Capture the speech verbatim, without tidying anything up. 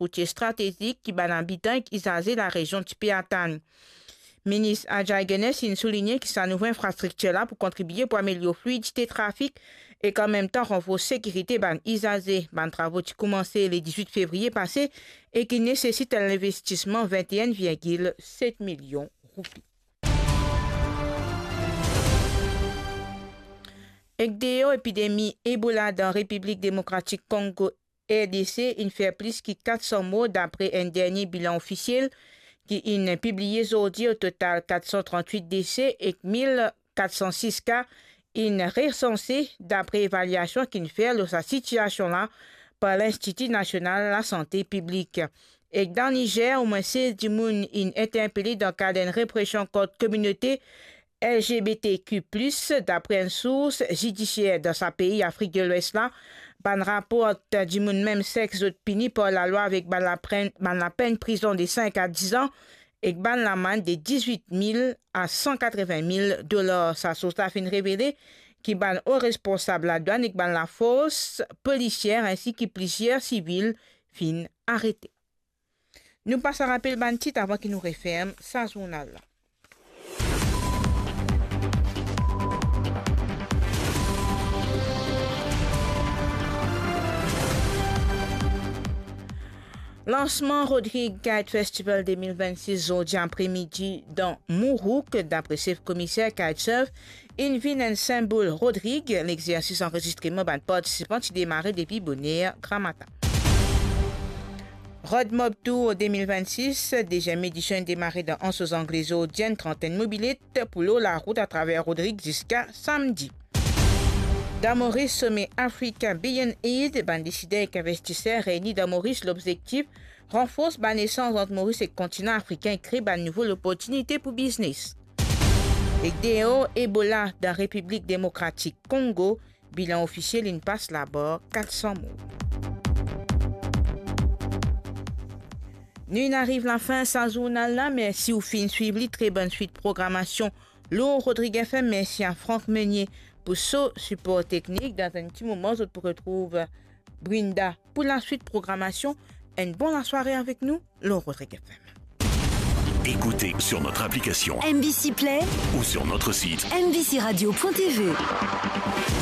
rotie stratezik ki bann abitan ek izaze larezion ti pe atann. Minis Ajay Genes inn souligne ki sa nouvo infrastriktir la pou kontribie pou amelior fluidite trafik ek anmemtan ranforse sekirite bann izaze. Bann travo ti koumanse le dizwit fevriye pase e ki nesesit enn linvestisman vennteen virgil set milion roupi. Ek deor epidemi Ebola dan Repiblik Demokratik Kongo, R D C, inn fer plis ki kat san mor, dapre enn dernie bilan ofisiel ki inn pibliye zordi. O total, kat san trant-wit dese ek mil kat san sis ka inn resanse, dapre evaliasion ki'nn fer lor sa sitiasion la par Linstiti Nasional Lasante Piblik. Ek dan Nizer, omwin sez dimoun inn interpele dan kad enn represion kont kominote L G B T Q plus, dapre enn sours zidisier dan sa pei Afrik de Lwes la. Bann raport dimoun mem sex zot pini par lalwa avek bann laprenn-, bann lapenn prizon de sink a diz an ek bann lamann de dizwit mil a san katreven mil dolar. Sa sours la finn revele ki bann o responsab ladwann ek bann lafors polisier, ensi ki plizier sivil finn arete. Nou pas a rapel bann tit avan ki nou referm sa zournal la. Lansman Rodrig Kite Festival de mil vennsis zordi apremidi dan Mourouk, dapre sef komiser Kitesurf, inn vinn enn senbol Rodrig. Lexersis anrezistreman bann partisipan ti demare depi boner gramatin. Rod Mob Tour de mil vennsis, deziem edision inn demare dan Anse aux Anglais zordi, enn trantenn mobilet pou lor larout atraver Rodrig ziska samdi. Dan Moris, some Africa Beyond Aid, bann desider ek investiser reyni dan Moris, lobzektif ranfors bann lesanz ant Moris ek kontinan afrikin e kre bann nouvo loportinite pou biznes. Ek deor, Ebola dan Repiblik Demokratik Kongo, bilan ofisiel inn pas labar kat san mor. Nou inn ariv lafin sa zournal la. Mersi ou finn swiv li. Tre bonn swit programasion lor Rodrig F M. Mersi a Franck Meunier pou so sipor teknik. Dan enn ti moman, zot pou retrouv Brinda pou laswit programasion. Enn bon lasware avek nou lor Rodrig F M. Écoutez sur notre application M B C Play ou sur notre site M B C radio point T V.